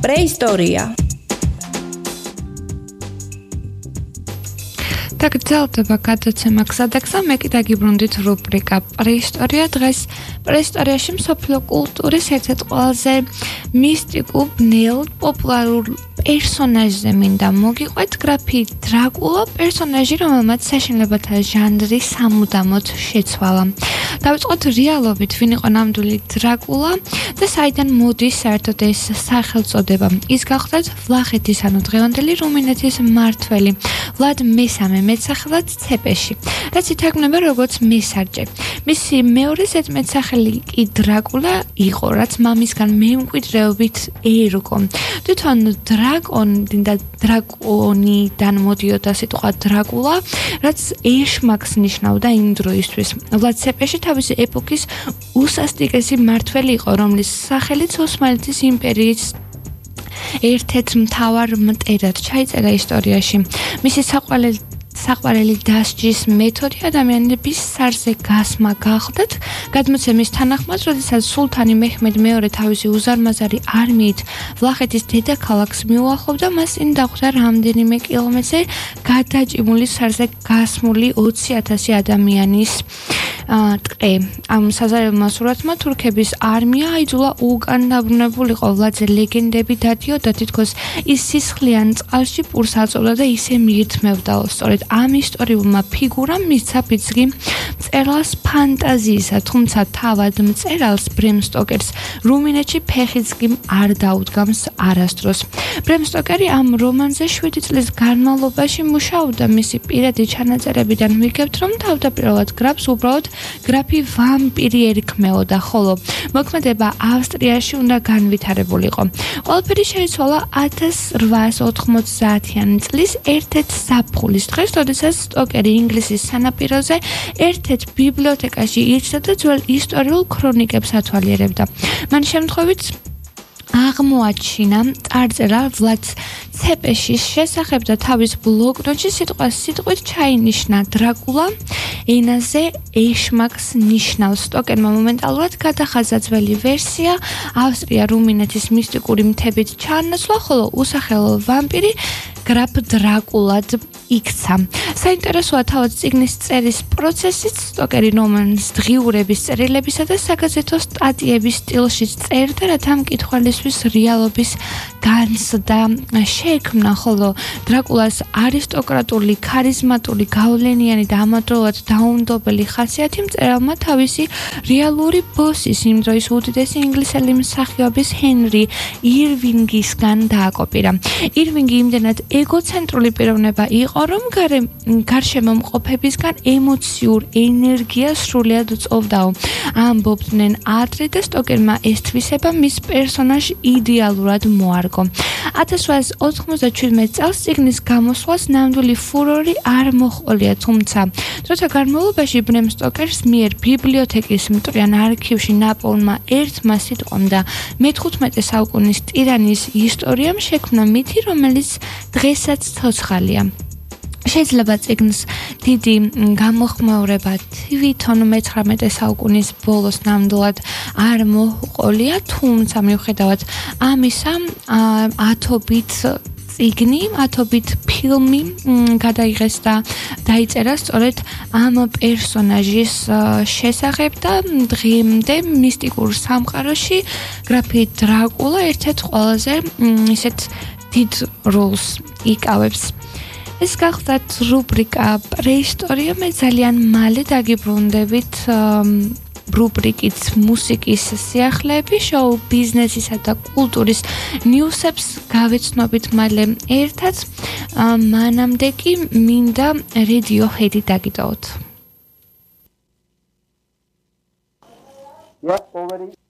პრეისტორია. დაგრძელდება გადაცემა გზადაგზა, მე კიდე გიბრუნდით რუბრიკა პრეისტორია. დღეს პრეისტორიაში მსოფლიო კულტურის ერთ-ერთ ყველაზე მისტიკურ, ბნელ, პოპულარულ პერსონაჟზე მინდა მოგიყვეთ გრაფი დრაკულა, პერსონაჟი, რომელმაც საშინელებათა ჟანრი სამუდამოდ შეცვალა. დავიწყოთ რეალობით, ვინ იყო ნამდვილი დრაკულა და საიდან მოდის საერთოდ ეს სახელწოდება. ის გახლდათ ვლახეთის, ანუ დღევანდელი რუმინეთის მმართველი ვლად მესამე, მეტსახელად ცეპეში, რაც ითარგმნება როგორც მესარჯე. მისი მეორე ზედმეტსახელი კი დრაკულა იყო, რაც მამისგან მემკვიდრეობით ერგო. თვითონ დრაკონიდან მოდიოდა სიტყვა დრაკულა, რაც ეშმაკს ნიშნავდა იმ დროისთვის. ვლად ცეპეში თავისი ეპოქის უსასტიკესი მმართველი იყო, რომლის სახელიც ოსმალეთის იმპერიის ერთ-ერთ მთავარ მტერად ჩაიწერა ისტორიაში. მისი საყვარელი დასჯის მეთოდი ადამიანების სარზე გასმა გახლდათ. გადმოცემის თანახმად, როდესაც სულთანი მეჰმედ მეორე თავისი უზარმაზარი არმიით ვლახეთის დედაქალაქს მიუახლოვდა, მას წინ დახვდა რამდენიმე კილომეტრზე გადაჭიმული სარზე გასმული 20,000 ადამიანის ტყე. ამ საზარელმა სურათმა თურქების არმია აიძულა უკან დაბრუნებულიყო ვლადზე ლეგენდები დადიოდა, თითქოს ის სისხლიან წყალში პურს აწოვდა და ისე მიირთმევდა. სწორედ ამ ისტორიულმა ფიგურამ მისცა ფიცრი მწერალს ფანტაზიისა, თუმცა თავად მწერალს ბრემ სტოკერს რუმინეთში ფეხიც კი არ დაუდგამს არასდროს. ბრემ სტოკერი ამ რომანზე 7 წლის განმავლობაში მუშაობდა. მისი პირადი ჩანაწერებიდან ვიგებთ, რომ თავდაპირველად გრაფს უბრალოდ გრაფი ვამპირი ერქმეოდა, ხოლო მოქმედება ავსტრიაში უნდა განვითარებულიყო. ყველაფერი შეიცვალა 1890-იანი წლის ერთ-ერთ ზაფხულის დღეს, როდესაც სტოკერი ინგლისის სანაპიროზე ერთ-ერთ ბიბლიოთეკაში იჯდა და ძველ ისტორიულ ქრონიკებს ათვალიერებდა. მან შემთხვევით აღმოაჩინა წარწერა ვლად ცეპეშის შესახებ და თავის ბლოკნოტში სიტყვით ჩაინიშნა დრაკულა ენაზე ეშმაკს ნიშნავს. სტოკერმა მომენტალურად გადახაზა ძველი ვერსია, ავსტრია-რუმინეთის მისტიკური მთებით ჩაანაცვლა, ხოლო usახელო ვამპირი გრაფ დრაკულად იქცა. საინტერესოა თავად წიგნის წერის პროცესიც. სტოკერი რომანის დღიურების წერილებისა და საგაზეთო სტატიების სტილში წერდა, რათა მკითხველისთვის რეალობის განცდა შეექმნა, ხოლო დრაკულას არისტოკრატული, ქარიზმატული, გავლენიანი და ამავდროულად დაუნდობელი ხასიათი მწერალმა თავისი რეალური ბოსის, იმ დროის უდიდესი ინგლისელი მსახიობის ჰენრი ირვინგისგან დააკოპირა. ირვინგი იმდენად ეგოცენტრული პიროვნება იყო, რომ გარშემო მყოფებისგან ემოციურ ენერგიას სრულად წოვდაო. ამბობდნენ ადრე და სტოკერმა ეს თვისება მის პერსონაჟს იდეალურად მოარგო. 1897 წელს წიგნის გამოსვლას ნამდვილი ფურორი არ მოჰყოლია, თუმცა დროთა განმავლობაში ბრემ სტოკერს მიერ ბიბლიოთეკის მტრიან არქივში ნაპოვნმა ერთმა სიტყვამ და მე-15 საუკუნის ტირანის ისტორიამ შექმნა მითი, რომელიც დღესაც ცოცხალია. შეიძლება წიგნს დიდი გამოხმაურება თვითონ მე-19 საუკუნის ბოლოს ნამდვილად არ მოჰყოლია, თუმცა მიუხედავად ამისა, ათობით წიგნი, ათობით ფილმი გადაიღეს და დაიწერა სწორედ ამ პერსონაჟის შესახებ და დღემდე მისტიკურ სამყაროში გრაფი დრაკულა ერთ-ერთ ყველაზე ისეთ დიდ როლს იკავებს. ეს გახლდათ რუბრიკა პრეისტორია, მე ძალიან მალე დაგიბრუნდებით რუბრიკით მუსიკის სიახლეები, შოუ ბიზნესისა და კულტურის ნიუსებს გავეცნობით მალე ერთად, მანამდე კი მინდა Radiohead-ი დაგიდოვოთ. Yeah, already.